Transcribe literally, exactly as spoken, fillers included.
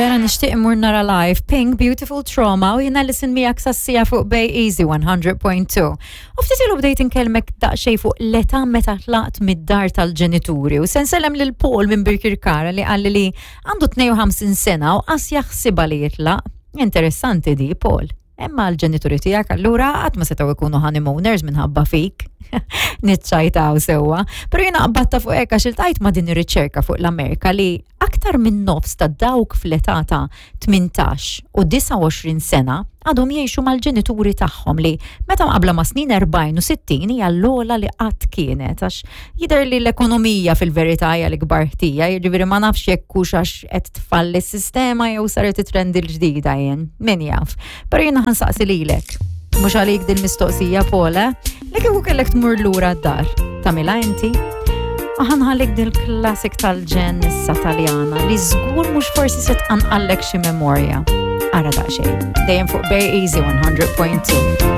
Vera nixtieq immur nara live Pink Beautiful Trauma u jiena listen miegħek sassija fuq Bay Easy one hundred point two. U ftit ilu bdejt inkellmek daqsxejn fuq l-età meta tlaqt mid-dar tal-ġenituri u se nsellem lil Paul minn Birkirkara li qalli li għandu tnejn u ħamsin sena u qas jaħsibha li jitlaq. Interessanti di, Paul. Imma l-ġenituri tiegħek allura qatt ma setgħu jkunu honeymooners minħabba fik. Nitċajtaw sewwa. Pero jiena qbadtha fuq hekk għax iltqajt ma' din ir-riċerka fuq l-Amerika li aktar minn nofs ta' dawk fl-età ta' tmintax u disgħa u għoxrin sena għadhom jgħixu mal-ġenituri tagħhom, li meta mqabla ma' snin erbgħin u sittin hija l-ogħla li qatt kienet, għax jidher li l-ekonomija fil-verità hija l-ikbar ħtija, jiġifieri ma nafx jekk hux għax qed tfalli s-sistema jew saret it-trend il-ġdida jien, min jaf. Però jiena ħa nsaqsi lilek. Mhux għalik din mistoqsija, Paul, eh? Li kieku kellek tmur lura d-dar, tagħmilha inti? Ħa nħallik dil classic tal-ġenn issa Taljana li żgur mhux forsi se tqanqallek xi memorja. Ara daqsxejn. Dejjem fuq Bay Easy one hundred point two.